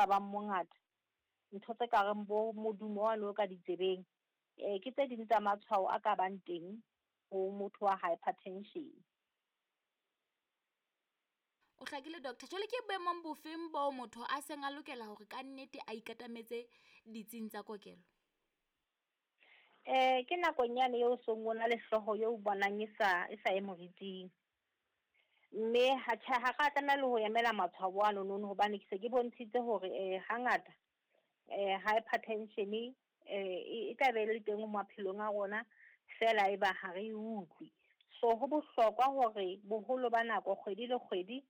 ka bang mongata, ntho tse ka reng bo modumo wane o ka ditsebeng, ke tse ding tsa matshwao a ka bang teng ho motho wa hypertension. O hlakile doctor. Jwale ke boemong bofeng bo motho a seng a lokela hore ka nnete a ikatametse ditsing tsa kokelo? Ke nakong yane eo seng o na le hlooho eo bonang e sa e moriting. Mme ha tjhe, ha ra tlameha le ho emela matshwao ano nono hobane ke se ke bontshitse hore hangata hypertension e tla be le teng maphelong a rona fela e ba ha re e utlwe. So ho bohlokwa hore boholo ba nako kgwedi le kgwedi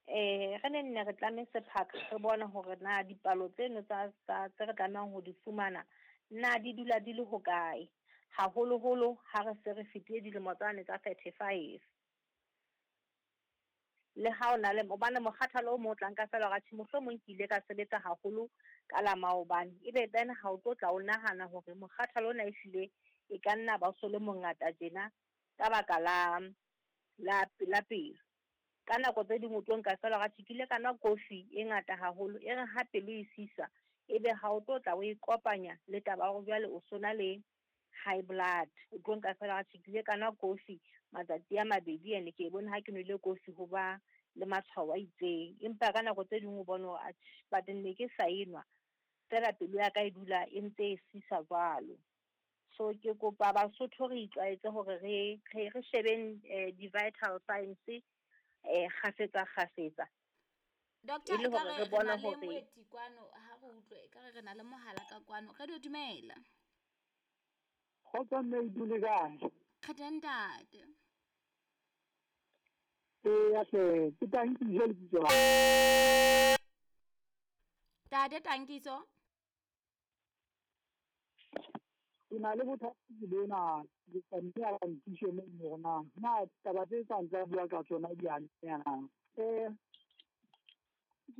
re ne nne re tlame sephaka re bone hore na dipalo tseno tsa tse re tlamehang ho di fumana na di dula di le hokae, haholoholo ha re se re fetile dilemo tsane tsa 35. Le ha o na le hobane mokgathalo o mong o tla nka fela hore atjhe mohlomong ke ile ka sebetsa haholo ka la maobane, ebe then ha o tlo tla o nahana hore mokgathalo ona ehlile e ka nna ba o so le mongata tjena ka baka la la pelo. Ka nako tse ding o tlo nka fela hore atjhe ke ile ka nwa kofi e ngata haholo, e re ha pelo e sisa ebe ha o tlo tla o e kopanya le taba ya hore jwale o so na le high blood. O tlo nka fela atjhe ke ile ka nwa kofi matsatsi a mabedi ene ke bone ha ke nwele kofi ho ba le matshwao a itseng. Empa ka nako tse ding o bone hore atjhe but ne ke sa enwa fela pelo ya ka e dula e ntse e sisa jwalo. So ke kopa Basotho re itlwaetse hore re re shebeng di-vital signs kgafetsa kgafetsa. Doctor, e ka re re na le moeti kwano, ha re utlwe e ka re re na le mohala ka kwano. Radio dumela. Kgotso mme dule kae? Re teng ntate. Eya hle, ke Tankiso lebitso la. Tate Tankiso. Ke na le bothata bona, ke kopa mme a nthuse moo hore na taba tse tsang tsa bua ka tsona di a na. Ke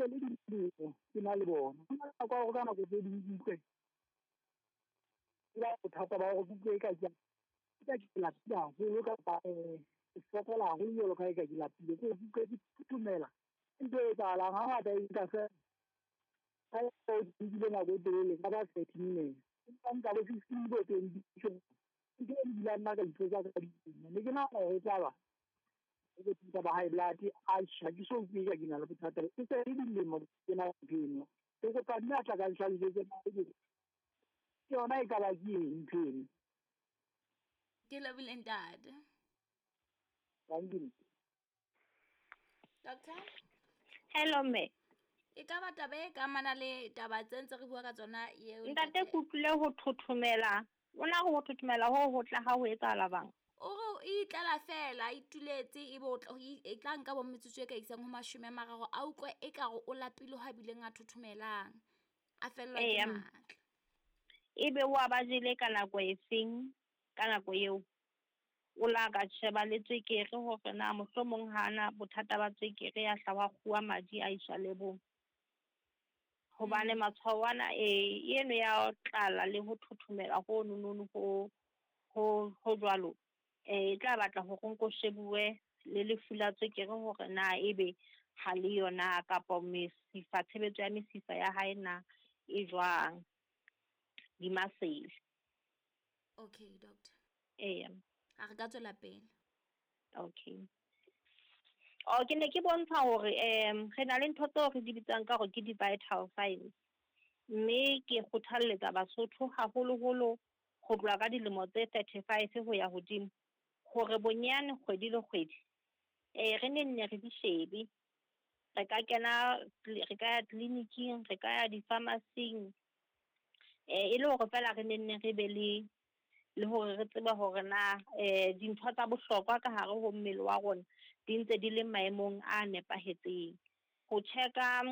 le dilemo ke na le bona. Ka hore ka nako tse ding ke utlwe ke ba bothata ba hore ke utlwe eka ke ke lapile haholo kapa ke fokola haholo jwalo ka ha eka ke lapile. Ke utlwe ke thothomela. Ke ntho e etsahalang hangata e nka feela ha o dule nako e telele ka ba 30 minutes. Empa nka bo 15 bo 20. Ntho e dulang nna ka ipotsa ka dilemo. Ne ke nahana hore e tla ba bothata ba high blood. Atjhe, ha ke so utlwe eka ke na le bothata. E se le dilemo ke na ntho eno. Ke kopa mme a tla ka nhlalosetse ke yona e ka ba ke eng ntho eno. Ke lebohile ntate. Thank you. Doctor? Hello mme. E ka ba taba e ka amana le taba tse ntse re bua ka tsona eo Ntate ke utlwile ho thothomela. O na ho thothomela ho ho tla ha ho etsahala bang? O re o itlela fela, a ituletse ebe o tla e tla nka bo metsotso e ka isang ho 30 a utlwe ekare o lapile ho a bileng a thothomelang. A fellwa ke matla. Ebe wa ba jele ka nako e feng, ka nako eo? O la ka sheba le tswekere hore na mohlomong hana bothata ba tswekere ya hla wa kguwa madi a iswa lebong. Hobane matshwao ana eno ya tlala le ho thothomela ho nonono ho jwalo, e tla batla hore nko shebuwe le lefu la tswekere hore na ebe ha le yona kapa mesifa, tshebetso ya mesifa ya hae na e jwang, di-muscle. Okay, doctor. Eya. A re ka tswela pele. Okay. Oh, ke ne ke bontsha hore re na le ntho tseo re di bitsang ka hore ke di-vital signs. Mme ke kgothalletsa Basotho haholoholo ho tloha ka dilemo tse 35 ho ya hodimo hore bonyane kgwedi le kgwedi re ne nne re di shebe. Re ka kena, re ka ya tleliniking, re ka ya di-pharmacy-ing, e le hore fela re ne nne re be le hore re tsebe hore na dintho tsa bohlokwa ka hare ho mmele wa rona di ntse di le maemong a nepahetseng. Ho check-a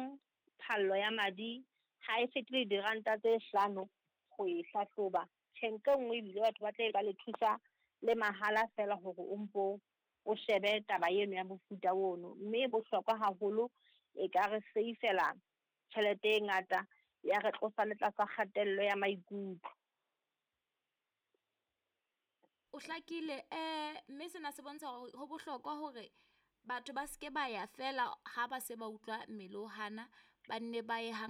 phallo ya madi ha e fetile diranta tse 5 ho e hlahloba. Tjhe, ntle nngwe ebile batho ba tla ba le thusa le mahala fela hore o mpo o shebe taba eno ya mofuta ono. Mme e bohlokwa haholo, e ka re seifela tjhelete e ngata ya re tlosa le tlasa kgatello ya maikutlo. O hlakile, mme sena se bontsha hore ho bohlokwa hore batho ba seke ba ya fela ha ba se ba utlwa mmele o hana, ba nne ba ye hang.